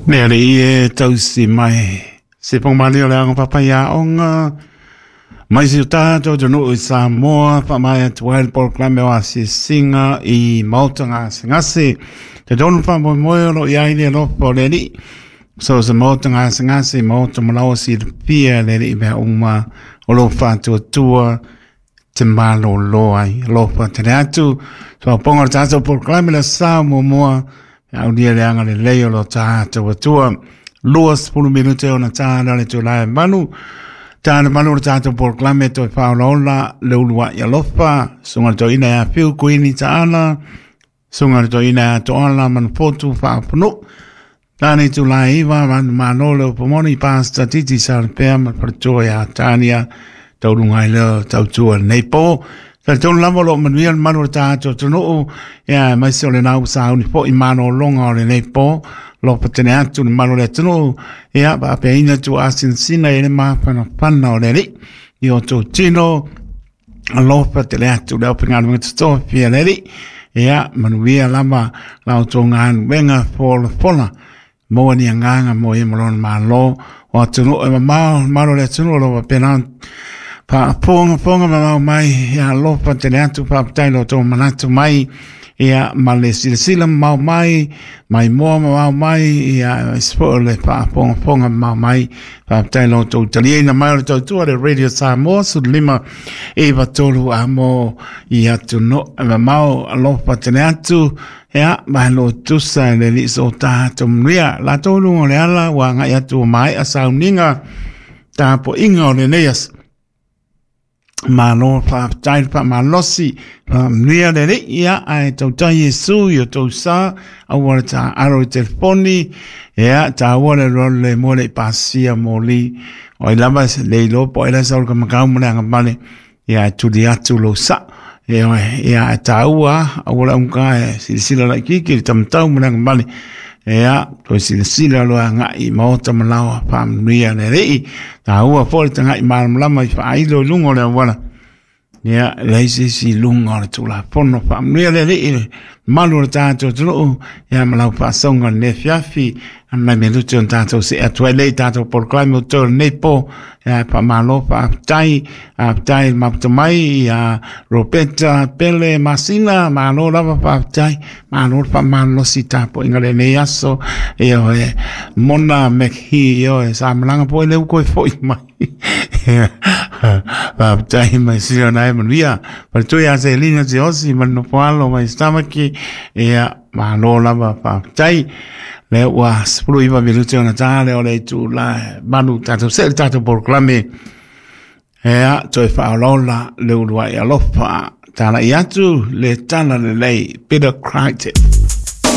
Le alii e tausi mai se pogamalie o le aoga papaiaoga mai si o tatou atunuu i Samoa, faamaea atu ai le polokalame o asiasiga i maota gasegase. Talitonu faamoemoe o lo o i ai le alofa o le Alii. So se maota gasegase, maota malaoa silafia e le Alii mea uma o lo o faatuatua te malolo ai. Alofa tele atu. Soapoga o le tatou polokalame le sa muamua. Aulia le agalelei o lo tatou Atua. 20 minute ona tā le itula e 8. Tā le 8 o le tatou polokalame toe faaolaola le uluai alofa. Susuga i le Toeaina ia Fiu Kuini Taala. Susuga i le Toeaina ia Toala Manufotu Faafanuu. Tane itula e 9, manumalo le upu moni, Pastor Titi Salapea ma le faletua ia Tania, tauluga ai lea o tautua i lenei po. Talitonu lava o lo o manuia le malu o le tatou atunuu, ia aemaise o lena ua sauni foi malologa o lenei po, alofa tele atu le malu o le atunuu, ia faapeaina tuaasinasina i le mafanafana o le Alii i o outou tino, alofa tele atu le aufaigaluega totofi a le Alii. Ia, manuia lava la outou galuega folafola. Maua ni agaga mo ia ma lona Malo o atunuu e mamao, malo le atunuu o lo o faapena ona faafogafoga mamao mai. Ia alofa tele atu, faafetai lo outou manatu mai, ia ma le silasila mamao mai, maimoa mamao mai, ia aemaise foi o le faafogafoga mamao mai. Faafetai lo outou taliaina mai o le tautua le Radio Samoa 15 93 a mo i atunuu e mamao. Alofa tele atu. Ia, malo tusa e le Alii so tatou manuia. Latou luga o le ala ua agai atu ua maea sauniga tapuaiga o lenei aso. Malo faafetai le faamalosi, faamanuia le Alii, ia, ae tautai Iesu i o tou sa, aua le taaalo i telefoni, ia, taua le alualu le moe le i pasia moli, o ai lava le iloa po o ai la e sau le kamakau ma le agavale, ia, e tuli atu lou sa. Ia, ia, ae taua, aua le augata e silasila laitiiti i le tamatau ma le agavale, ia, toe silasila loa agai i maota ma laoa, faamanuia le Alii. Taua foi le tagai malamalama i faailo i luga o le auala. Ia, leai se isi i luga o le Tulafono. Faamanuia le Alii i le malu o le tatou atunuu, ia ma lau faasauga i lenei afiafi. Nai minute ona tatou see atu ai lea i tatou polokalame o totoe o lenei po. Ia, faamalo, faafetai, faafetai le mafuta mai ia Roberta Pele Masina, malo lava faafetai, malo le faamalolosi tapuaiga lenei aso. Ia oe, Mona McHee, ia oe, sa malaga foi lea ua toe foi mai. Faafetai mai sila na e manuia. Faletua ia Selina Teosi ma le nofo alo mai Stamaki. Ia, malo lava faafetai. Lea ua 19 minute ona tā lea o le itula e 8 tatou see le tatou polokalame. Ea, toe faaolaola le uluai alofa. Talai atu le tala lelei, Peter Crichton.